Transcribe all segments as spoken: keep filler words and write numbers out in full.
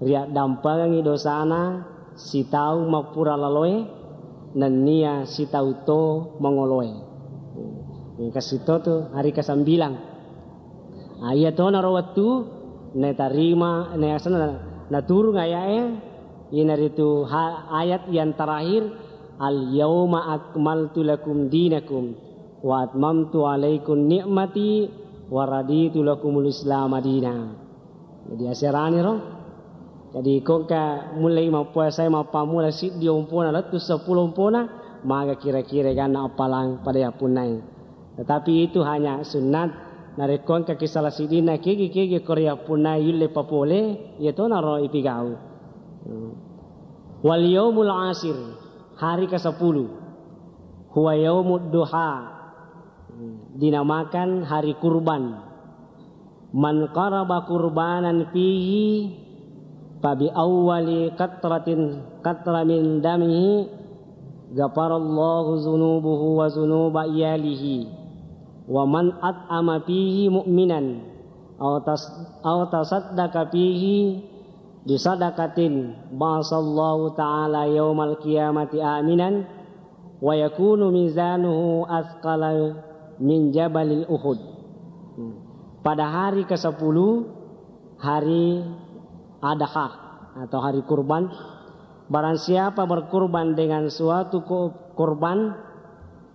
Riaddampengengngi dosana sitaung mappura laloe, nennia sitaung to mangoloe. Engka sito tu hari kesembilan. Ah, iya tonaro wettu natarima, na-, asenna naturung aya'e, iyanaritu ha-, ayat yang terakhir, "Al-yauma akmaltu lakum dinakum wa atmamtu alaikum ni'mati wa raditu lakumul islama dina." Jadi aserani ro. Jadi ko engka mulai mappuasai mappammula siddi ompona lettu seppulo ompona, maga kira-kira ganna appalang pada yappunnai. Tetapi itu hanya sunnat. Narekko engka ki salah siddinna kegi-kegi ko riyappunnai yulle papole, iya tonaro ipigau. Hmm. Wal yaumul ashir, hari kesepuluh. Huwa yaumud duha. Hmm. Dinamakan hari kurban. Man qaraba qurbanan fihi fa bi awwali qatratin qatra min damihi ghafarallahu dzunubahu wa dzunuba iyalihi. Wa man at'ama fihi mu'minan aw tas-, aw tasaddaqa fihi bi sadaqatin ba'asallahu ta'ala yaumal qiyamati aminan wa yakunu mizanuhu atsqala min jabalil Uhud. Hmm. Pada hari kesepuluh, hari Adha atau hari kurban, barang siapa berkurban dengan suatu ko-, kurban,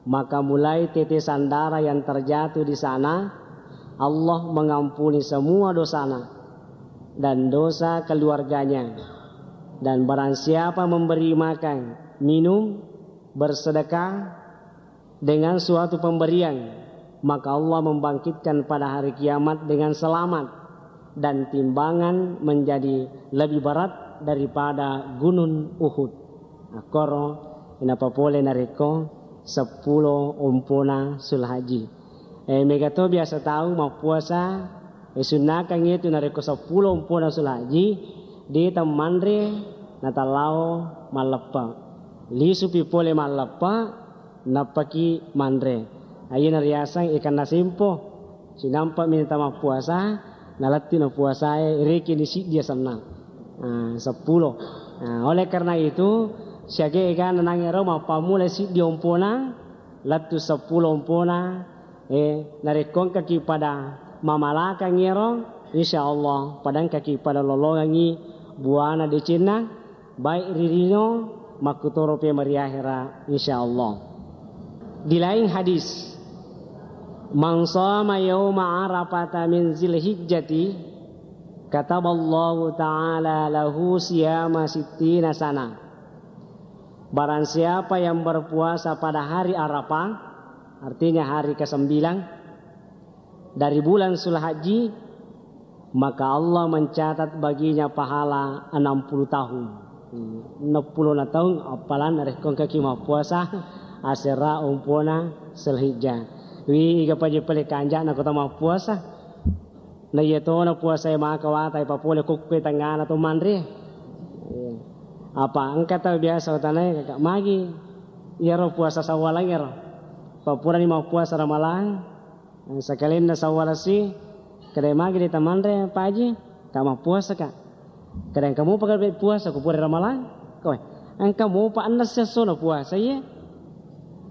maka mulai tetesan darah yang terjatuh di sana, Allah mengampuni semua dosana dan dosa keluarganya. Dan barang siapa memberi makan, minum, bersedekah dengan suatu pemberian, maka Allah membangkitkan pada hari kiamat dengan selamat dan timbangan menjadi lebih berat daripada gunung Uhud. Akkoro inapa pole narekko seppulo ompona Sulhaji. Eh, mega to biasa tau mappuasa, eh, sunnakang itu narekko seppulo ompona Sulhaji, de tammanre natallao malleppe. Lisupi pole malleppe, nappaki manre. Aiyana riaseng ikanna sempo. Sinampa minta mappuasa, nalettu na puasae, rekeni siddi asenna. Ah, seppulo. Ah, oleh karena itu, siaga egana nangero mappammula siddi ompona, lettu seppulo ompona, eh, narekko engkaki pada mamalakang ero, insya Allah pada engkaki pada lolongangi buana decenna, baik ri lino makkutoro pe mari ahera, insya Allah. Di lain hadis, "Man shoma yauma Arafata min Zilhijjati, kataballahu ta'ala lahu siyama sittina sana." Barang siapa yang berpuasa pada hari Arafah, artinya hari kesembilan, dari bulan Sulhaji, maka Allah mencatat baginya pahala enam puluh tahun. Hmm, enam puluh na taung, appalan rekko engkaki mappuasa, asera ompona Sulhijjah. Wi, iga paje pale kanjana kota mappuasa. Na iya tona puasa e maka watai papole kokkue tangana to manre. Iya. Apa engka tau biasa watanae, "Kakak, magi iyaro puasa Sawwalang ero? Papurani mappuasa Ramalang." Sakalenna sawwalasi, kedai magi de tamanre, Pak Haji, ka mappuasa ka. Kedai engka mopa ka puasa, ku pura Ramalang. Kowe, engka mopa enneng sessona puasa, iye.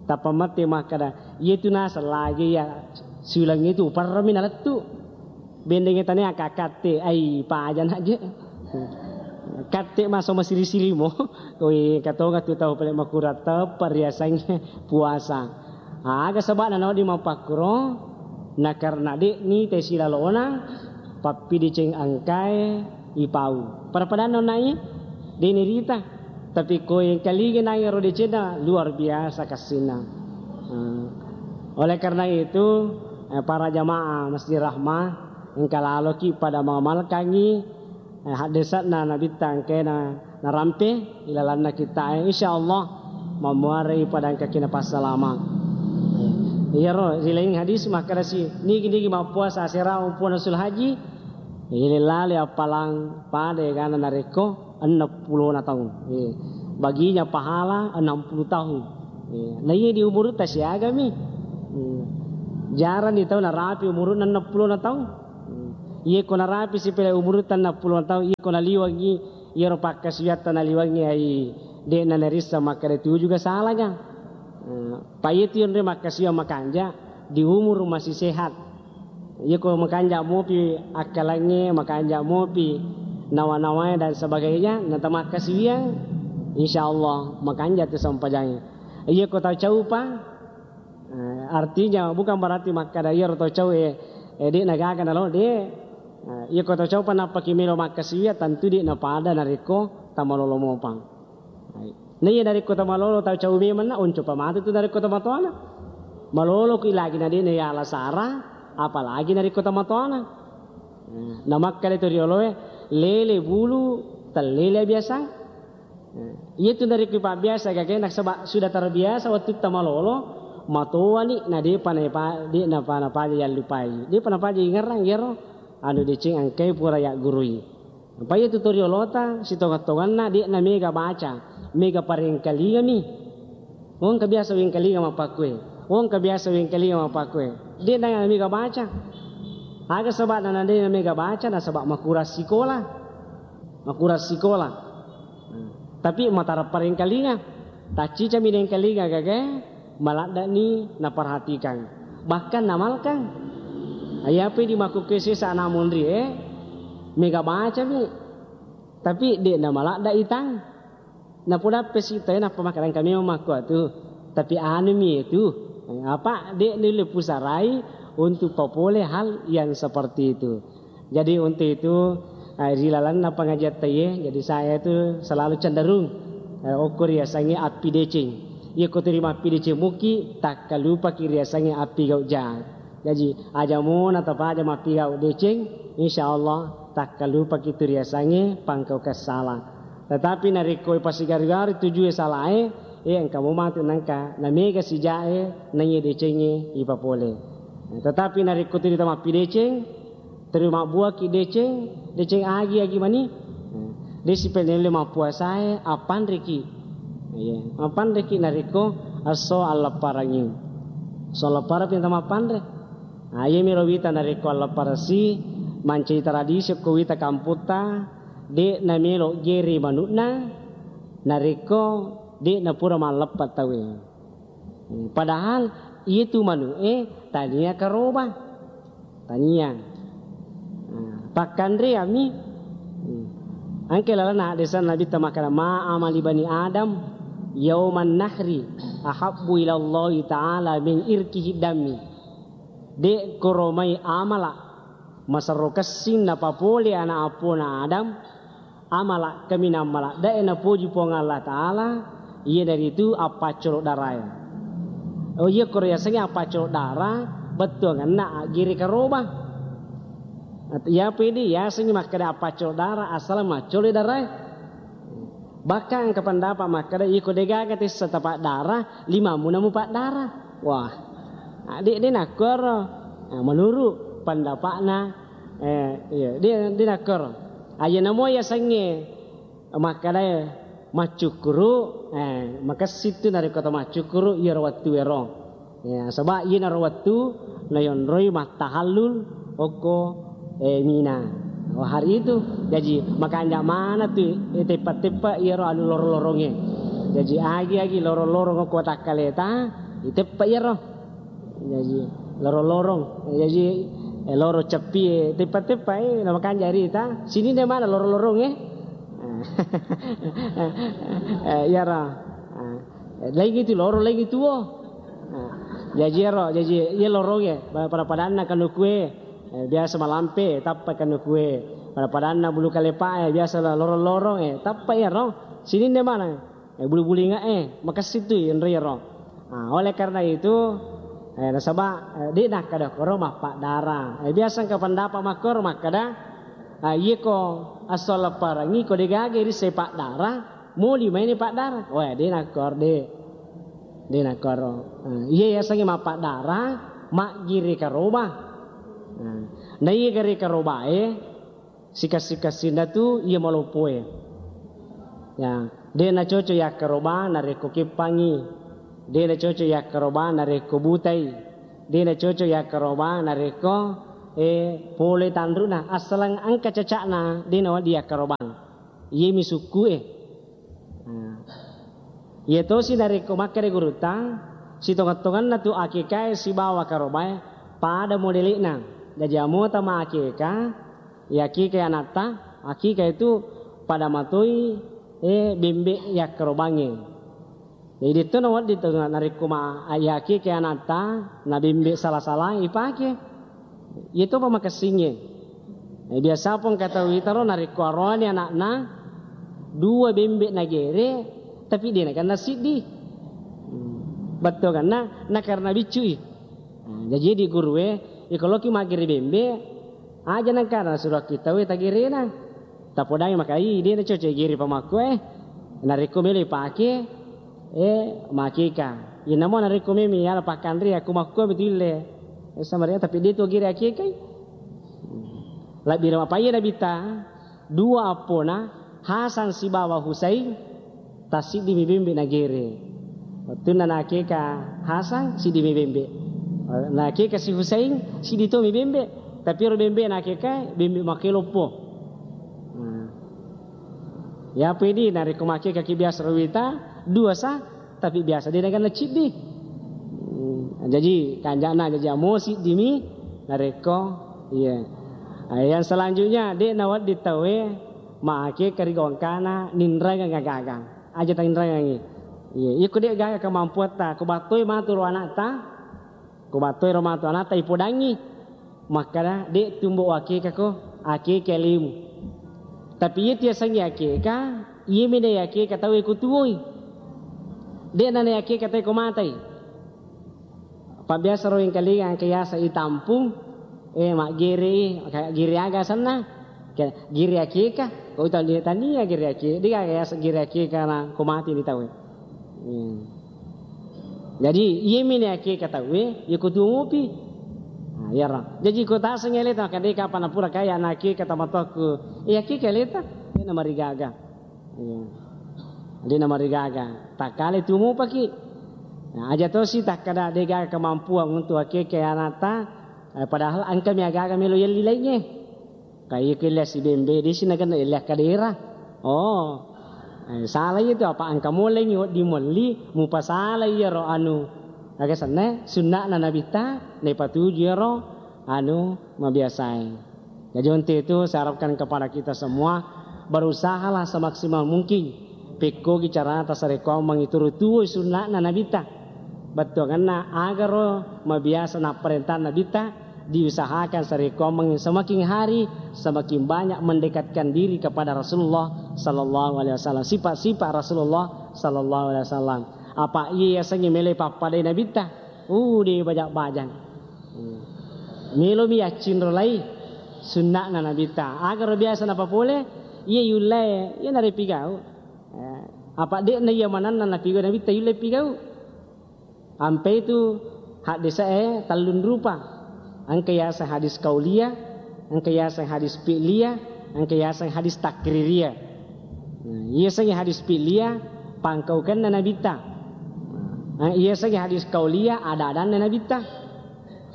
Tappa matti makkada, iye tu naseng lagi ya, siulang itu uparrami nalettu. Bendeng tane aka katte, ai paja naje. Katte maso masiri-sirimo. Kowe katonga tu tau pale makurang teppa riasangnge puasa. Aga saba'na nawedding mappakkuro? Na karena de'ni te silalona pappideceng engkae ipau. Pada-padanna onnai, de'ni rita. Tapi ko engkalinga nangero decenna, luar biasa kassinna. Hmm. Oleh karena itu, eh, para jamaah Masjid Rahmah, engka laloki pada mamalkangi eh, haddese'na Nabitta engkae na, narampe ilalanna kitta'e, insyaallah mammuarei pada engkaki napassalama. Iyaro ri laing hadis makkedasi, nigi-nigi mappuasa asera ompona Sulhaji, ile lale appalang pada egana narekko enneng pulona taung. Eh, baginya pahala enam puluh tahun. Eh, na iya di umurutta siagami. Hmm. Jarang di tau narapi umurunna enneng pulona taung. Hmm. Iye ko narapi sipela umurutta enneng pulona taung, iye ko naliwengngi, iyaro pakkasiwiatta naliwengngi, ai de'na narisseng makkeda tuju ga salanga. Eh, pa iyatu yonroi makkasiwiang makanja di umur masih sehat. Iye ko makanja mopi akkalengnge, makanja mopi nawa-nawae dan sebagainya, natamakkasiwiang, insya Allah makanja tu sempajangnge. Iye ko tau caupa, Eh, artinya bukan berarti makkada iyaro tau cau e, eh, de'na gaga nalo, de'. Eh, iya ko tau cau pa nappaki melo makkasiwiang, tentu de'na pada narekko tamalolo mopa. Hai. Na iya narekko tamalolo tau cau memanna, oncopa matu tu narekko tamatoana. Malolo ku lagi na de'na yala sara, apalagi narekko tamatoana. Eh, na makkada to rioloe, lele bulu, tellele biasa. Eh, iyatu narekko ipabbiasa gagae nasaba sudah terbiasa wettutta malolo, matoani na de'pa naipa-, de'napa napaja yallupai, de'pa napaja ingerrang iyaro anu deceng engkai pura yaggurui. Apa iyatu toriolota sitongeng-tongenna de'na mega baca, mega parengkalingami. Wongka biasa wengkalinga mappakkue, wongka biasa wengkalinga mappakkue. De'na mega baca. Aga sebabna na de'na mega baca, nasaba makurang sikola. Makurang sikola. Tapi matarappa rengkalinga. Taccicami nengkalinga gagae, maladdani naperhatikan. Bahkan namalkang. Ayapi di makkukue sesa ana monri e, mega bacami. Tapi de'na maladda itang. Napodappe sitae nappa makkeda engka memang makkuatu. Tapi anumi itu. Apa de' nulle pusarai untuk papole hal yang seperti itu. Jadi untuk itu, eh, ri lalenna pengajian taiye, jadi saya itu selalu cenderung, eh, okko riasengnge appideceng. Iya ko terima appideceng muki, takkalupaki riasengnge appigau ja. Jaji, aja mo natapaja mappigau deceng, insya Allah takkalupaki tu riasengnge pangkau kessala. Tetapi narekko ipasigaru-garu tujue salae, eh, engka mo matu nangka namega sijae naiye decengnge ipapole. Tetapi narekko tu ita mappideceng, terima buaki deceng, deceng agi-agi mani. Desi penelle mappuasae, appanreki. Iya, appanreki narekko esso allepparangngi. Esso allepparang pinta mappanre. Nah, iyami ro wita narekko allepparasi mancaji tradisi okko wita kamputta, de' namelo gere manu'na narekko de' napura malleppa tauwe. Padahal iyatu manu'e tania karoba. Tania. Nah, pakkanreami. Engka lalenna haddesanna Nabitta makkeda, "Ma amali bani Adam yauman nahri ahabbu ilallahi ta'ala min irkihi dammi." De' koromai amala maserro kessing napapole ana' appona Adam, amala kaminang maladdae napoji Puang Allah Ta'ala, iyanaritu appaccolo darae. Oh iya, koro yasengnge appaccolo dara, bettuangenna aggere karoba. Iya pede yasengnge makkeda appaccolo dara, asal maccolo darae. Bahkan engka pendapat makkeda, iko degaga tessa tapaddara, limammu namupaddara. Wah, de', de' nakkoro. Nah, menurut pendapatna, eh, iya, de', de' nakkoro. Aja namo yasengnge makkeda maccukkuru, eh, makessing tu narekko to maccukkuru iyaro wettuero. Ya, saba' iyanaro wettu nayonroi mattahallul okko, eh, Mina. Wah, hari itu. Jaji, makanja' maneng tu, eh, teppa-teppa iyaro anu lorong-lorongnge. Jaji, agi-agi lorong-lorong okko takkaleta, iteppa iyaro. Jaji, lorong-lorong. Jaji, eh, lorong ceppi, eh, teppa-teppa, eh, namakanja' rita. Sininna maneng lorong-lorongnge. Eh, iyaro. Ah. Eh, laingngi tu loro, laingngi tuo. Nah, jaji ero, jaji iya lorongnge, pa-, pada-padanna kanukue, eh, biasa malampe, tappa kanukue. Pada-padanna bulu kalepa, eh, biasa la-, lorong-lorong, eh, tappa ero. Sininna maneng, eh, bulu-bulu inge, eh, makessing tu enre ero. Nah, oleh karena itu, eh, nasaba, eh, de' nakkeda koro mappaddara. Eh, biasa engka pendapat makkoro makkeda, ah, iya ko esso allepparengngi ko degaga risseng paddara, moli maini paddara. Wah, de' nakkoro, de'. De' nakkoro. Nah, iya yasengnge mappaddara, maggere karoba. Nah, na iya gere karobae, sikessi-kessinna tu iya maloppoe. Ya, de' nacoco yakkaroba narekko keppangngi. De' nacoco yakkaroba narekko butai. De' nacoco yakkaroba narekko eh, pole tanru'na, assaleng engka caca'na de' nawedding yakkarobang. Iyemi sukku'e. Nah, iya tosi narekko makkeda gurutta, sitongeng-tongenna tu akekae sibawa karobae pada modele'na. Jaji amota maakeka, iya akeka anatta, akeka itu pada matoi, eh, bembe yakkarobangnge. Jadi, de'to nawedding to narekko ma-, iyakeke anatta, na bembe sala-sala ipake. Iya topa makessingnge. Eh, biasa pong engka tau itaro narekko aroani ana'na, dua bembe nagere, tapi de' nakenna siddi. Hmm. Bettuanna, na karena biccui. Hmm, jaji di gurue, iko loki maggere bembe, aja nengka nasuro ki tauwe tagerena. Tapodangi makai, de' nacocok gere pamakkue. Narekko melo ipake, eh, makeka. Inamo narekko memi yala pakkanre, aku makkue betulle. Eh, sama dia, tapi de' tu gere akekai. Lebbi rema paye Nabitta, dua appona, Hasan sibawa Husain, tassiddimi bembe nagere. Wettunna nakeka Hasan, siddimi bembe. Nakeka si Husain, siddi tomi bembe. Tapi ero bembe nakeka, bembe makkeloppo. Nah. Ya, apa ini? Narekko makeka ki biasa ro wita, dua sa, tapi biasa de' nakenna ciddi. Hmm, jaji kanjana jaji amo siddimi, narekko, iya. Ah, yang selanjutnya, de' nawedding tauwe, maakeka ri gongkana ninrangeng agaga. Aja tainrangengi. Iya, iko de' gaga kemampuatta, ko battoi matu ro anatta, ko battoi ro matu anatta ipodangi. Makkada, de' tumbo akeka ko, akeka lemu. Tapi iya tiasengi akeka, iya mena akeka tau ko tuoi. De' nana akeka tau ko matai. Pabbiasa ro engkalinga engka yaseng itampung, eh, maggere, gere aga asenna? Ke-, gere akeka, ko tau tania gere akeka, de' gaga yaseng gere akeka na ko mati ni tau. Hmm. Jadi, iyemi ni akeka tauwe, iya ko tuo mopi. Nah, iyaro. Jadi, ko taseng aleta, makkada de' kapang napura kaya na akeka tomatoakku. Eh, akeka aleta, de' namarigaga. Iya. De' namarigaga. Takkale tuo mopaki. Nah, aja tosi takkada de' gaga kemampuan untuk akeka anatta, eh, padahal engkami agaga melo yelli laingnge. Ka iya ko yelli sibembe, de' si nakenna yelli akkadera. Oh. Eh, sala iya tu, apa engka molengngi wedding melli, mupasala iyaro anu, aga senna, sunna'na Nabitta, naipatuju iyaro anu mabiasae. Jadi untuk itu saya harapkan kepada kita semua, berusahalah semaksimal mungkin pekkogi carata sarekkuammengngi turu tuoi sunna'na Nabitta. Bettuangenna agaro mabiasa napparentang Nabitta, diusahakan sarekkuammengngi semakin hari semakin banyak mendekatkan diri kepada Rasulullah sallallahu alaihi wasallam. Sifat-sifat Rasulullah sallallahu alaihi wasallam. Apa iya yasengnge melo pappadai Nabitta? Uh, de' bajang-bajang. Hmm. Melomi yaccinrolai sunna'na Nabitta. Agaro biasa napapole, iya yullae, iya narepigau. Eh, apa de'na iya manenna napigau Nabitta yulle pigau. Ampe itu haddese'e tellung rupa. Engka yaseng hadis qauliyah, engka yaseng hadis fi'liyah, engka yaseng hadis takririyah. Nah, iya sengnge hadis fi'liyah, pangkaukenna Nabitta. Nah, iya sengnge hadis qauliyah, ada-adanna Nabitta.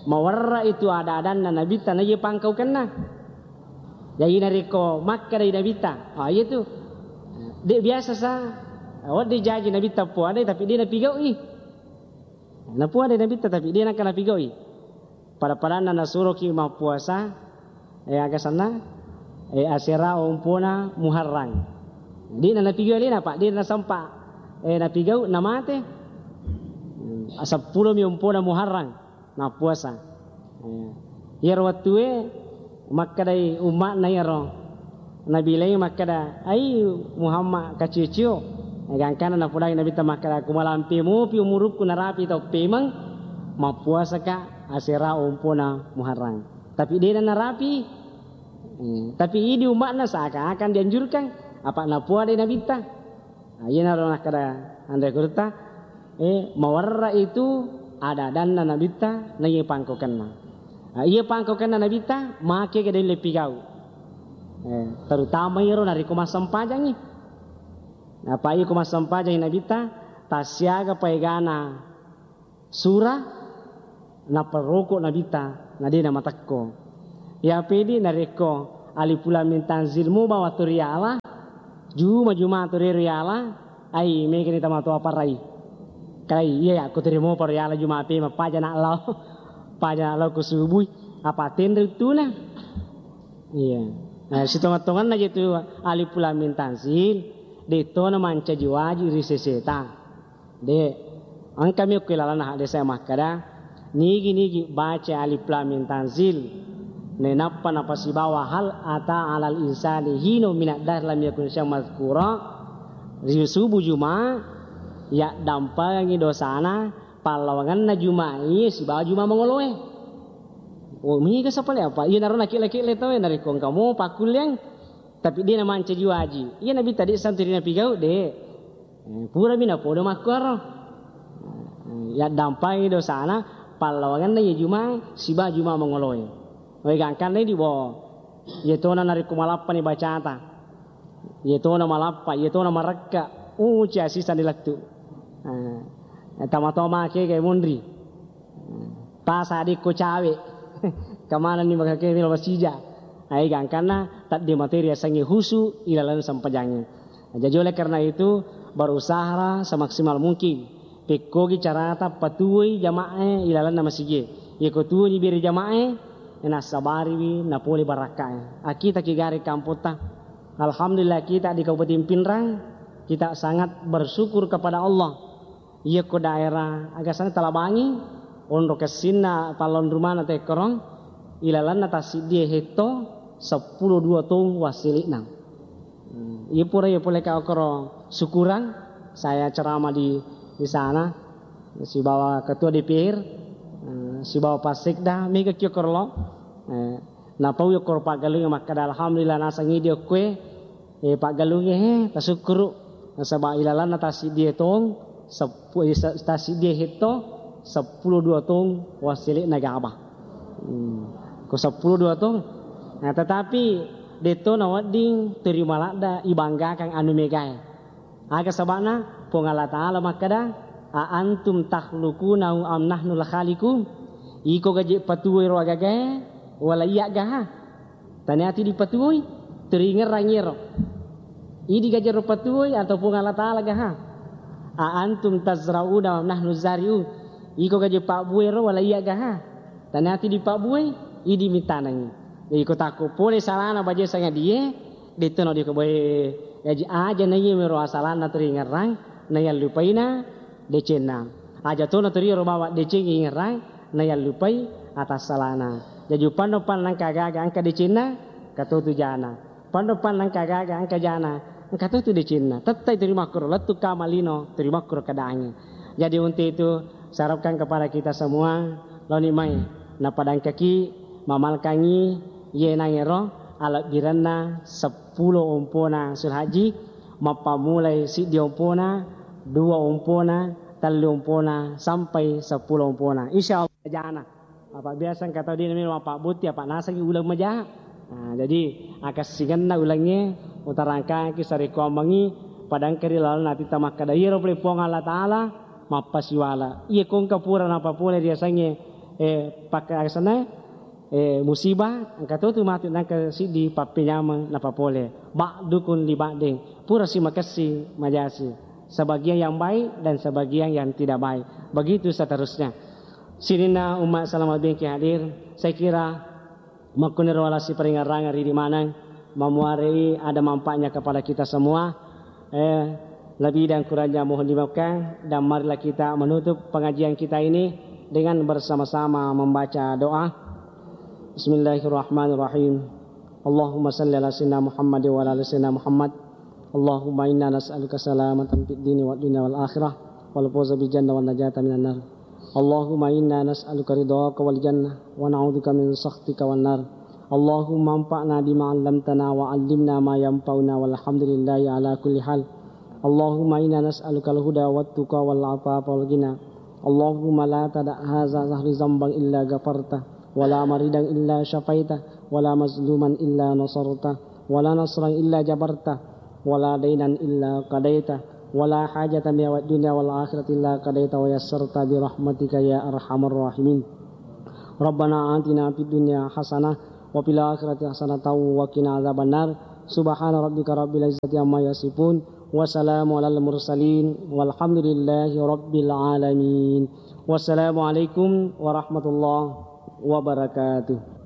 Mawarra itu ada-adanna Nabitta, na iya pangkaukenna. Jadi narekko makkedai Nabitta, ah, iya tu. De' biasa sa, wedding jaji Nabitta puadai, tapi de' napigau'i. Napuadai Nabitta, tapi de' nengka napigau'i. Pada-padanna nasuroki mappuasa, eh, aga senna, eh, asera ompona Muharram. De' na napigau alena, Pak, de' nasempa, eh, napigau, namate. Hmm, seppulomi ompona Muharram, nappuasa. Eh, iyaro wettue makkedai umma'na iyaro Nabi laing makkeda, "Ai Muhammad kacio-cio." Eh, gangkana napodangi Nabitta makkeda, "Ku malampe mopi umurukku narapi tau pemeng, mappuasaka asera ompona Muharram." Tapi de'na narapi. Hmm, tapi idi umma'na seakan-akan dianjurkan, apa napuadai Nabitta. Nah, iyanaro nakkeda anre gurutta, eh, mawarra itu ada-adanna Nabitta, na iya pangkokenna. Nah, iya pangkokenna Nabitta, make ke dalle pigau. Eh, terutama iyaro narekko massempajangi. Apa iya ko massempajangi Nabitta, tassiaga paegana sura, naperroko Nabitta, na de' namatekko. Iya pedi narekko alif lam mim tanzil mu bawa tu riala, juma-juma tu riala, ai, megani tamatoa parai. Kalai, iya, ya, ku terima pa riala juma pe, mapaja nak lao, paja nak lao ku subui, apa tenre uttuna. Iya. Nah, sitonga-tonganna je tu alif lam mim tanzil, de tona mancaji waji ri seseta. De, engkami okko ilalanna hadde saya makkada, nigi-nigi baca alif lam mim tanzil, nainappa napasibawa hal ata alal insani hino minad dahr lam yakun syai'an madzkura, ri subuh juma, yaddampengi dosana, pallawangenna juma iye sibawa juma mangoloe. Oh, mega sapale apa? Iya naro nakile-kile tau, narekko engka mo pakkulleang, tapi de namancaji waji. Iya nabi tadi santri napigau, de. Eh, purami napodo makkuaro. Eh, yaddampai dosana, pallawangenna iya juma, siba juma mangoloe. Wai gangkanna di bo. Iya tona narekko malappani bacata. Iya tona malappa, iya tona marekka. Uh, cia sisa dilettu. Eh, tama-tama ke kai monri. Pasa adikko cawe. Kamanenni makake melo masija. Ai gangkanna tadde materi asengnge husu ilalang sempajangnge. Jadi oleh karena itu, berusaha semaksimal mungkin. Pekkogi carata patuwoi jama'e ilalanna masije. Yeko tuwoni bere jama'e, nassabariwi napole barakkae. Akita ki gare kampotta. Alhamdulillah kita di Kabupaten Pinrang, kita sangat bersyukur kepada Allah. Iyako daerah aga sana Talabangi, onro kessinna pallonrumana tekkoro, ilalanna tassiddie hetto seppulo dua tong wassele'na. Hmm, iya pura iya pole ka okoro syukuran, saya ceramah di, di sana, sibawa ketua D P R, eh, sibawa Pak Sekda, mega ki okoro lo. Eh, napau okoro paggalungnge makkada, "Alhamdulillah, nasang idi okkoe." Eh, paggalungnge, he, tasukkuru. Nasaba ilalanna tassiddie tong, seppu-, eh, sa-, tassiddie hetto, seppulo dua tong wassele'na gaba. Hmm. Ko seppulo dua tong. Nah, tetapi detto nawedding terima ladda ibanggakan anu megae. Aga saba'na? Puang Allah Ta'ala makkada, "A antum takhluqunahu am nahnul khaliqun?" Iko gaje patuwoi ro agagae, wala iya gaha? Taniati dipatuwoi, teringerrang iyaro. Idi gajero patuwoi atau Puang Allah Ta'ala gaha? A antum tazra'una wa nahnu zari'un. Iko gaje pabbuwero wala iya gaha? Taniati dipabbuwoi, idi mitanengi. Jadi iko takko pole salana baje sangadie, detto no diko boe. Jaji aja naiye mero asalanna teringerrang, nayallupaina decenna. Aja tona toriero bawang deceng ingerrang, nayallupai atassalana. Jaji upanno-panno nangka aga-aga engka decenna, engka totu jana. Panno-panno nangka aga-aga engka jana, engka totu decenna. Tettai torimakkoro lettu kama lino, torimakkoro keadaangnge. Jadi untuk itu, saya harapkan kepada kita semua, loni mai napadangkaki, mamalkangi, ye nangero alebbirenna seppulo ompona Sulhaji, mappammulai siddi ompona, dua ompona, tellu ompona, sampai seppulo ompona. Insya Allah jana. Apa biasa engka tau dena memang mappabbutti, apa nasengi uleng maja. Nah, jadi akessingenna ulengnge utarangkangki sarekkuammengi padangka ri lalenna atitta makkada, iyaro pole Puang Allah Ta'ala mappasiwala. Iya kongka pura napapole riasengnge, eh, pakka-, asenna, eh, musibah, engka totu matu nangka siddi pappenyameng napapole. Ba'dukum li ba'din. Pura si makessi majasi. Sebagian yang baik dan sebagian yang tidak baik. Begitu seterusnya. Sininna umma salama bengki hadir, saya kira makkuniro wala siparingerrangeng ridi maneng, mamuarei ada manfaatnya kepada kita semua. Eh, lebih dan kurangnya mohon dimaafkan, dan marilah kita menutup pengajian kita ini dengan bersama-sama membaca doa. Bismillahirrahmanirrahim. Allahumma salli ala sayyidina Muhammad wa ala ali sayyidina Muhammad. Allahumma inna nas'aluka salamatan fid dini wad dunya wal akhirah wal fawza bil jannah wan najata minan nar. Allahumma inna nas'aluka ridhaka wal jannah wa na'udzubika min sakhatika wan nar. Allahumma anfa'na bima 'allamtana wa 'allimna ma yanfa'una walhamdulillahi ala kulli hal. Allahumma inna nas'aluka al-huda wat tuqa wal afafa wal ghina. Allahumma la tada' hadza dzahri dzamban illa ghafarta, wa la maridan illa syafaita, wa la mazluman illa nasarta, wa la nasran illa jabarta, wa la dainan illa qadaita, wa la hajatan min hawa'id dunya wal akhirati illa qadaita wa yassarta bi rahmatika ya arhamar rahimin. Rabbana atina fid dunya hasanah wa fil akhirati hasanatan wa qina adzabannar. Subhana rabbika rabbil izzati amma yasifun. Wa salamun alal mursalin. Walhamdulillahi rabbil alamin. Wassalamualaikum warahmatullahi wabarakatuh.